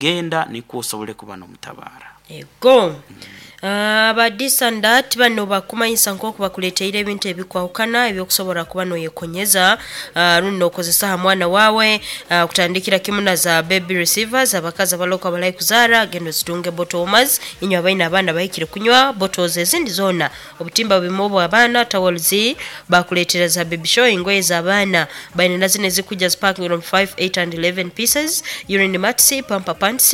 Genda nikwo osobole kuba n'omutabaara. Ego. Aba this and that bano bakumanyisa nk'oku bakuleeteire ebintu ebikwahukana ebyokusobora kuba noyekonyeza rundi nokozesa ha mwana waawe, kutandikira kimu na za baby receivers abakazi abaloka abali kuzaara genda ozitunge, bottle warmers inywe abaine abaana bahikire kunywa, bottles ezindi zoona, obutimba bumwe obw'abaana, towels, bakuleetera za baby shower, engoye z'abaana baine na zinu ezikujja zi packing on 5, 8 and 11 pieces, urine mats, pamper pants,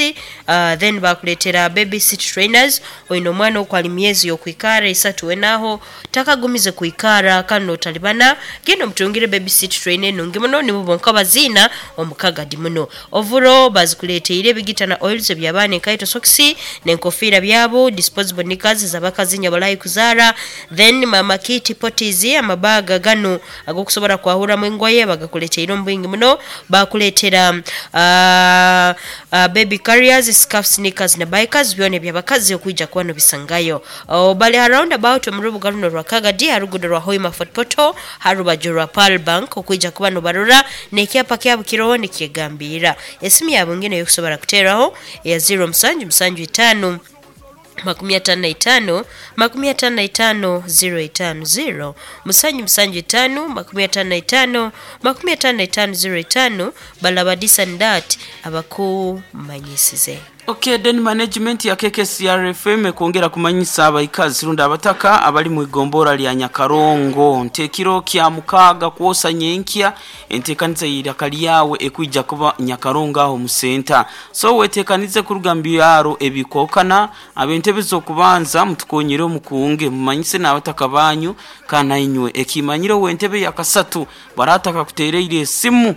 then bakuleetera baby seat trainers. Oine omwana oku ali myezi y'okwikara isatu wenaho takagumize kwikara kandi notalibana, genda omutungire baby seat trainer enungi muno, nibo bonka baziina omu Kagadi muno. Ovuro bazikuleteire, ebigita na oils eby'abaana, enkaito, sokisi n'enkofiira byabo, disposable knickers ez'abakazi inywe abali kuzaara, then mama kit potties, amabaga ganu ag'okusobora kwahuramu engoye bagakuleteire omu bwingi muno. Bakuleetera baby carriers, scarfs, knickers na bikers byona eby'abakazi okwija kuba nobisangayo. Oh, bali ha round about omu rubuga runo rwa Kagadi ha ruguudo rwa Hoima Fort Portal ha rubaju rwa Pearl Bank okwija kuba nobarora n'ekyapa kyabo kiroho nikyegambirra. Esimu yabo nginu ey'okusobora kuteeraho eya 0 musanju musanju itaano 55 55 05, 0 musanju musanju itaano 55 55 05. Balaba this and that abakumanyisize. Okay, then management ya KKCR FM ekwongera kumanyisa abaikazi rundi abataka abali mu igombora lya Nyakarongo nti ekiro kya mukaaga kwosa nyenkya enteekaniza y'eiraka lyawe ekwija kuba Nyakarongo aho mu senta. So weteekanize kuruga mu byaro ebikwahukana, ab'entebe z'okubanza mutukonyere omukunge mumanyise n'abataka banyu kandi nainywe ekimanyire ow'entebe ya kasatu barataka kuteereire esimu,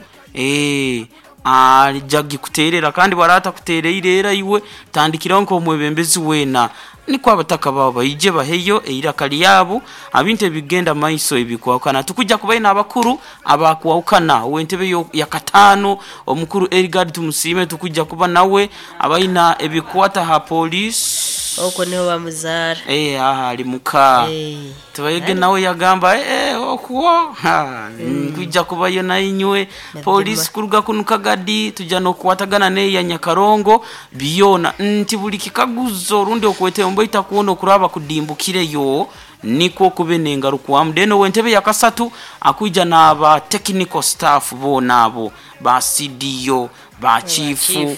aija gikuteerera kandi bwaraba atakuteereire era iwe tandikiraho nk'omwebembezi weena nikwo abataka baabo baije baheyo eiraka lyabo ha bintu ebigenda mu maiso ebikwahukana. Tukujja kubayo n'abakuru abakwahukana, ow'entebe ya kataano omukuru Erigard Tumusiime tukujja kuba nawe abaina ebikwata ha police. Okwo niho bamuzaara. Aha ali muka. Tubayege nawe yagamba okwo nkwija kubayo nainywe polisi kuruga kunu Kagadi tujja n'okukwatagana n'eya Nyakarongo byona nti buli kikaguzo rundi okwetembo itakuona okuraba kudimbukireyo nikwo kube n'engarukwamu. Then ow'entebe ya kasatu akwija n'aba technical staff boona abo ba CDO ba chifu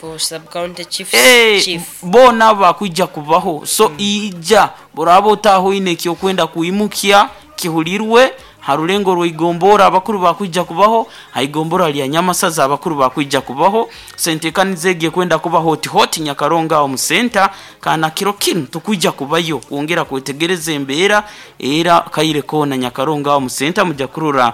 boona abo bakwija kubaho. So ija boraba otaaha oine ekyokwenda kwimukya kihulirwe ha rulengo rw'igombora abakuru bakwija kubaho, ha igombora lya Nyamasaza abakuru bakwija kubaho. So enteekaniza egi ekwenda kuba hoti hoti Nyakarongo aho mu senta kandi kiro kinu tukwija kubayo kwongera kwetegereza embeera era kaire koona Nyakarongo aho mu senta mujja kurora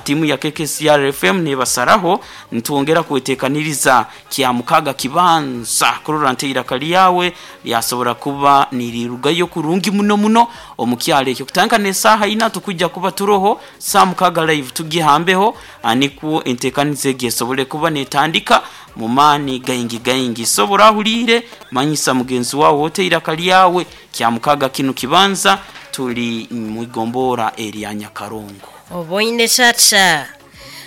tiimu ya KKCR FM nebasaraho nitwongera kweteekaniriza kya mukaga kibanza kurora nti eiraka lyawe lyasobora kuba nirirugayo kurungi muno muno omu kyaro ekyo. Kutandika n'esaaha ina tukujja kuba turoho saa mukaga live tugihambeho nikwo enteekaniza egi esobole kuba netandika mu maani gaingi gaingi. So burahuliire manyisa mugenzi wawe ote eiraka lyawe kya mukaga kinu kibanza tuli mu igombora erya Nyakarongo. Oboine tata.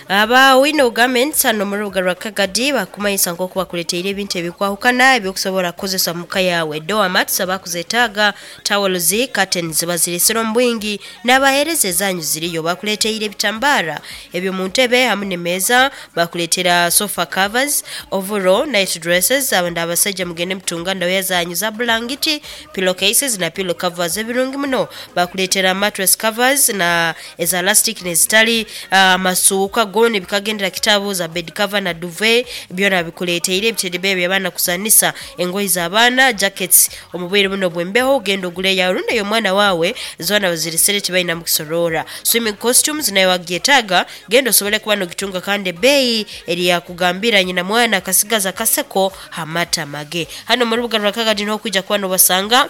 Aba Wino Garments hano mu rubuga rwa Kagadi bakumanyisa nk'oku bakuleteire ebintu ebikwahukana ebyokusobora kukozesa mu ka yawe. Doormats abakuzetaaga, towels, curtains baziresere omu bwingi n'abaheereza ezanyu ziriyo. Bakuleteire ebitambara eby'omu ntebe hamu n'emeeza, bakuleetera sofa covers, overall, night dresses, abandi abasaija mugende mutunga ndawaya zanyu za bulangiti, pillow cases na pillow covers ebirungi muno. Bakuleetera mattress covers na eza elastic n'ezitali, amasuuka goona ebikagendera kitabu za bed cover na duvet byona bikuleeteire, ebitebe eby'abaana kuzanisa, engoye z'abaana, jackets omu bwire buno obw'embeho genda ogule eyawe rundi ey'omwana waawe zoona baziresere tibainamu kusoroora. Swimming costumes nawe wagyetaaga genda osobole kuba nogitunga kandi ebbeeyi eri yakugambira nyina mwana akasigaza akaseko ha matama ge. Hano mu rubuga rwa Kagadi niho okwija kuba nobasanga.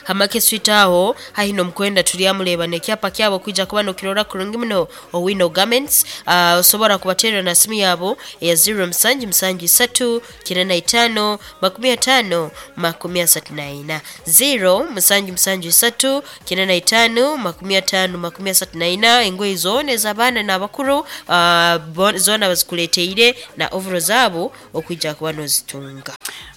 Ha Market Street aho haihi n'omukwenda turyamureeba n'ekyapa kyabo kwija kuba nokirora kurungi muno Owino Garments. Osobora kubateerera na simu yaabo eya ziro musanju musanju isatu kinana itaano makumi ataano makumi asatu na ina. Ziro musanju musanju isatu kinana itaano makumi ataano makumi asatu na ina. Engoye zoona ez'abaana n'abakuru zoona bazikuleeteire na ovuro zaabo okwija kuba nozitunga.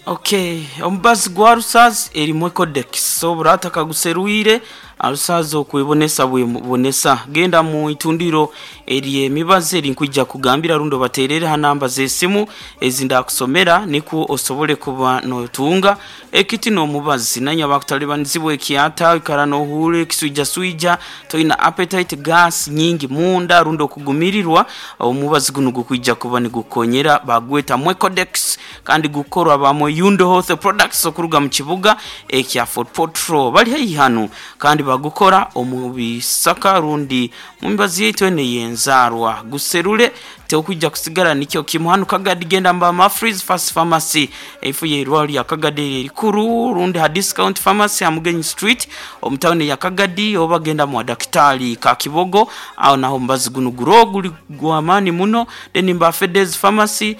Okay, omubazi gwa Rusaz erimu Ecodex. So burata kaguserwire Rusaz okwebonesa bwebonesa. Genda mu itundiro ery'emibazi eri nkwija kugambira rundo baterere ha namba z'esimu ezindakusomera nikwo osobole kuba notunga ekiti n'omubazi nanya bakutalibanizibwa ekyata ikara nohure ekiswija swija toina appetite gas nyingi munda rundo okugumirirwa omubazi guno gukwija kuba nigukonyera bagweta Mwecodex kandi gukorwa bamwe Yundo Health Products okuruga mu kibuga ekya Fort Portal bali haihi hano kandi bagukora omu bisaka rundi mu mibazi yaitu ene yenzarwa guserule teokwijja kusigala nikyo kimu hano Kagadi genda mba Mafreeze Fast Pharmacy efu ye irwaliro lya Kagadi erikuru rundi ha Discount Pharmacy ha Mugenyi Street omu town ya Kagadi oba genda mu daktari ka Kibogo aho naho mbazi guno guro guli gwamani muno. Then mba Fedez Pharmacy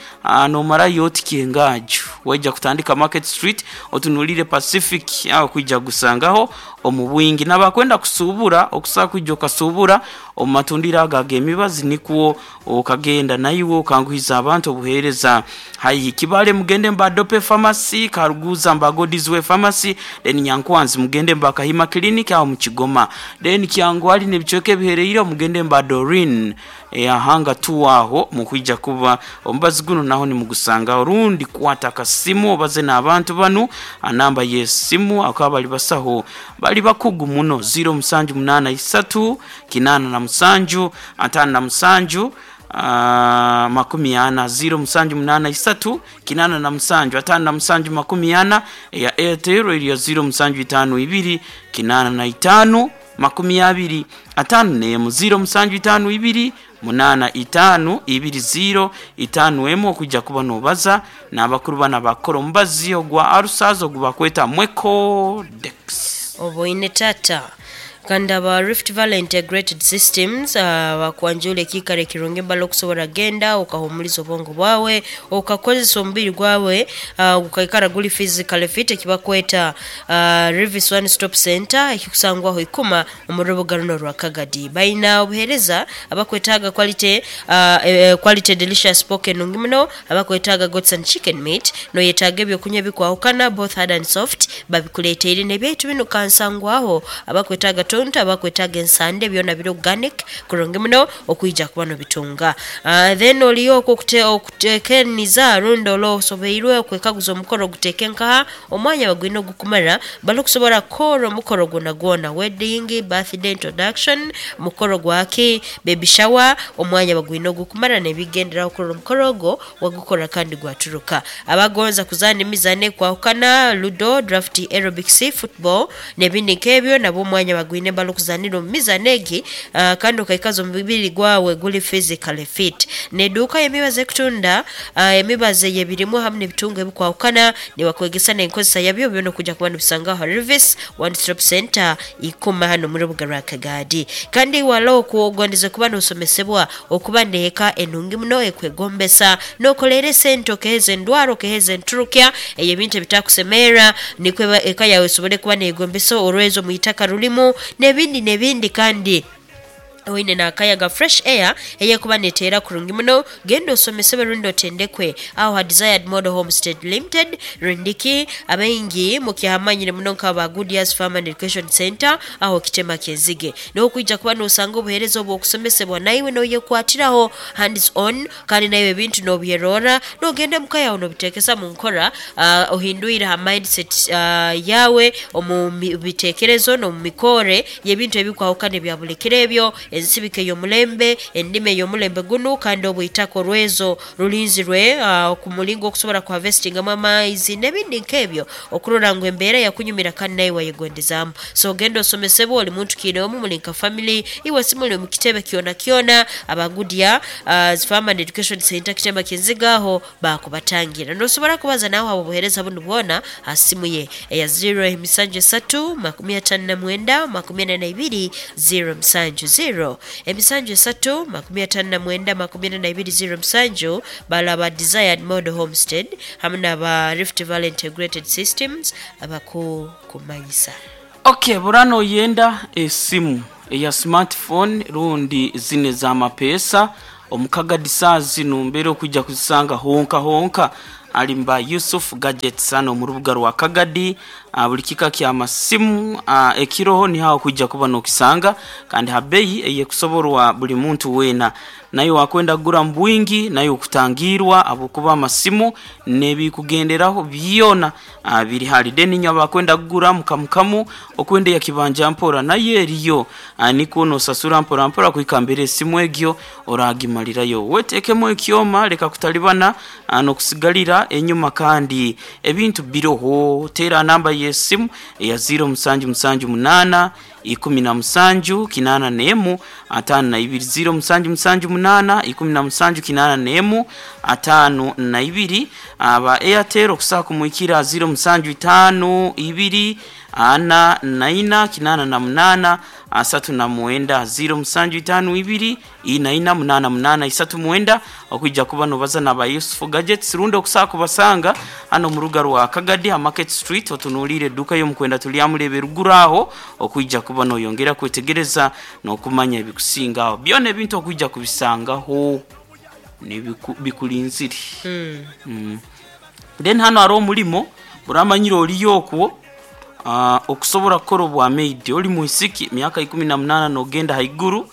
nomara yoti kiengaju waija kutandika Market Street otunulire Pacific aho kwijja gusangaho omu bwingi nabakwenda kusubura okusa kwijja okasubura omu matundiro aga ag'emibazi nikwo okagenda naiwe okanguhiza abantu obuheereza haihi Kibale mugende mba Dope Pharmacy Karuguza mba Godizwe Pharmacy then Nyankwanzi mugende mba Kahima Clinic aho mu Kigoma then Kyangwali n'ebicweka ebihereire mugende mba Dorin ahanga tuwaho mukwija kuba omubazi guno naho nimugusanga rundi kwata akasimu obaze n'abantu banu anamba y'esimu akaba bali basaho bali bakugu muno 0783 87 57 40 0783 87 57 40 ya Airtel eri ya 0752 85 20 5 0752 85 20 5 emu okujja kuba nobaza n'abakuru bana bakora omubazi ogwa Arusazo ogubakweta Mwecodex. Oboine tata kandi aba Rift Valley Integrated Systems bakwanjula ekiikaro ekirungi embala okusobora genda okahumuliza obwongo bwawe okakozesa omubiri gwawe gukaikara guli physically fit ekibakweta Rivis One Stop Center ekikusangwaho ikuma omu rubuga runo rwa Kagadi. Baina obuheereza abakwetaaga quality quality delicious pork enungi muno, abakwetaaga goats and chicken meat, noyetaaga ebyokunywa ebikwahukana both hard and soft babikuleteire n'ebyaitu binu kansangwaho abakwetaaga tonto abakwetaaga ensande byona biri organic kurungi muno okwija kuba nobitunga. Then oliyo okutekeniza rundi olosobeirwe okwekaguza omukoro guteke nkaha omwanya bagwine ogukumara bali okusobora kukora omukoro gwona gwona wedding, birthday, introduction, mukoro gwaki, baby shower, omwanya bagwine ogukumara n'ebigenderaho kurora omukoro ogwo wagukora kandi gwaturuka. Abagonza kuzaana emizaano ekwahukana ludo, draft, aerobics, football n'ebindi nk'ebyo nabo omwanya bagwine bali okuzanira omu mizaano egi kandi okaikaza omubiri gwawe guli physically fit. N'eduuka y'emibazi ekutunda emibazi ey'ebirimu hamu n'ebitungo ebikwahukana nibakwegesa n'enkozesa yabyo byona okujja kuba nibisangaho Rivis One Stop Center ikuma hano mu rubuga rwa Kagadi. Kandi wala okugondeze kuba nosomesebwa okuba neeka enungi muno ekwegombesa nokolera esente okeheza endwara okeheza enturukya eyo ebintu ebitakusemerra nikwo eka yawe esobole kuba negombesa orwezo mu itaka rulimu n'ebindi n'ebindi kandi oine n'akayaga fresh air eyekuba neteera kurungi muno genda osomesebwe rundi otendekwe aho ha Desired Model Homestead Limited rundiki abaingi mukihamanyire muno nk'aba Goodyears Farm and Education Center aho kitema kyenzige n'okwija kuba nosanga obuheereza obw'okusomesebwa naiwe noyekwatiraho hands on kandi naiwe ebintu nobyerora nogenda muka yawe nobitekesa mu nkora ohindwire ha mindset yawe omu bitekerezo n'omu mikore y'ebintu ebikwahukana ebya buli kiro ebyo. Ensibika ey'omulembe, endima ey'omulembe gunu kandi obwitaka orwezo rulinzirwe ku mulingo okusobora kuhavesitingamu amaizi n'ebindi nk'ebyo okurora ngu embeera yakunyumira kandi naiwe wayegondezaamu. So genda osomesebwe oli muntu kiinoomu muli nka family iwe simuli omu kitebe kyona kyona aba Goodyear Farm and Education Centre Kitemba Kinziga aho baakubatangira. Nosobora kubaza nawe habw'obuheereza bunu bwona ha simu ye eya ziro emisanju esatu 59 42 07. Ziro emisanju esatu 59 42 07 bale aba Desired Model Homestead hamu n'aba Rift Valley Integrated Systems abakukumanyisa. Ok burano oyenda esimu eya smartphone rundi zinu ez'amapeesa omu Kagadi saaha zinu mbeera okwija kuzisanga honka honka ali mu ba Yusuf Gadgets hanu omu rubuga rwa Kagadi. Buli kika ky'amasimu ekiroho niho aho okwija kuba n'okisanga kandi ha beeyi ey'ekusoborwa buli muntu weena. Naiwe wakwenda kugura mu bwingi naiwe okutangiirwa habwokuba amasimu n'ebikugenderaho byona biri hali. Then inywe abakwenda kugura mu kamu kamu, okwenda eya kibanja mpora nayo eriyo nikwo nosasura mpora mpora kuhika mbere esimu egyo oragimalirayo. Wetekemu ekyoma leka kutalibana n'okusigalira enyuma kandi ebintu biroho. Teera namba y'esimu eya ziiro musanju musanju munaana, ikumi na musanju, kinaana n'emu, ataano na ibiri. Ziiro musanju musanju munaana, ikumi na musanju, kinaana n'emu, ataano na ibiri. Aba Airtel okusobola kumwikira ziiro musanju itaano ibiri, ana na ina, kinaana na munaana, asatu na mwenda. Ziiro musanju itaano ibiri, ina ina, munaana munaana, isatu mwenda. Okwija kuba nobaza n'aba Yusufu Gadgets rundi okusobola kubasanga hano omu rubuga rwa Kagadi ha Market Street otunuliire eduuka y'omukwenda Turyamureeba eruguru aho okwija kuba noyongera kwetegereza n'okumanya ebikusinga aho. Byona ebintu okwija kubisangaho bikulinzire. Then hano haroho omulimo oramanyire oriyo okwo okusobora kukora obwa maid ori mwisiki myaka 18 nogenda haiguru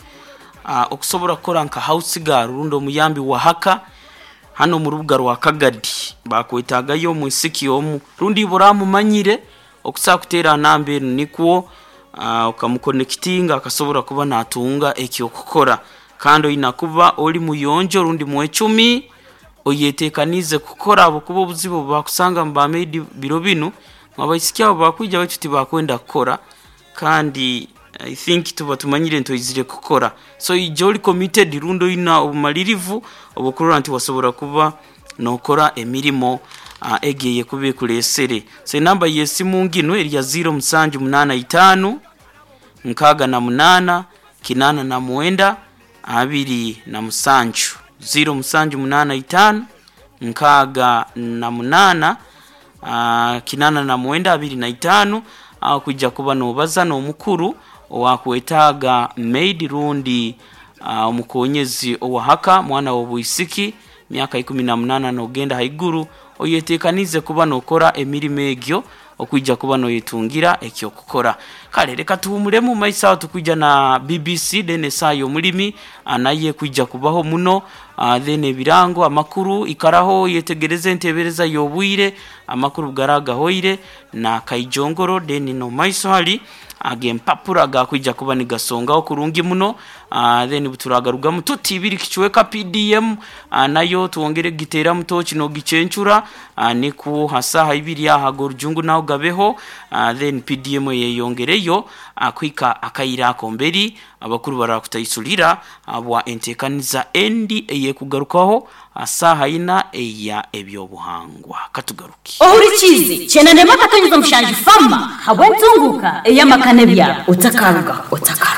okusobora kukora nka house girl rundi omuyambi wa haka hanu omu rubuga rwa Kagadi bakwetagayo omwisiki omu rundi iwe oramumanyire okusobola kuteera namba enu nikwo okamukonekitinga akasobora kuba natunga eky'okukora kandi oina kuba ori muyonjo rundi mwecumi oyetekaniize kukora habwokuba obuzibu obu bakusanga omu ba maid biro binu ngu abaisiki abo bakwija baitu tibakwenda kukora kandi I think tuba tumanyire nti oizire kukora so ija ori committed rundi oina obumalirivu obw'okurora nti wasobora kuba nokora emirimo egi eyekuba ekureesere. So enamba y'esimu nginu eri ya ziiro musanju munaana itaano, nkaaga na munaana, kinaana na mwenda, 27. Ziiro musanju munaana itaano, nkaaga na munaana, kinaana na mwenda, 25. Aho kwija kuba nobaza n'omukuru owakwetaaga maid rundi omukonyezi owa haka mwana w'obwisiki myaka 18 n'ogenda haiguru oyetekaniize kuba nokora emirimo egyo okwija kuba noyetungira eky'okukora. Kale leka tuhuumuremu mumaiso aho tukwija na BBC then esaaha y'omulimi nayo ekwija kubaho muno then ebirango, amakuru, ikaraho oyetegereze entebereza y'obwire, amakuru bugaraaba gahoire na kaijongoro then n'omumaiso hali ag'empapura gakwija kuba nigasongaho kurungi muno then buturagarugamu tuti ibiri kicweka PDM nayo twongere kugiteeramu tooki n'ogicencura nikwo ha saaha ibiri aho ag'orujungu naho gabeho then PDM eyeyongereyo kuhika akaire ako mberi abakuru barakutaisurira habwa enteekaniza endi ey'ekugarukaho ha saaha ina eya eby'obuhangwa. Katugaruke. Ohurikiize Kyenanema Akatonyeza Mushanju Farmer habw'entunguuka ey'amaka n'ebyaro. Otakarugaho. Otakarugaho.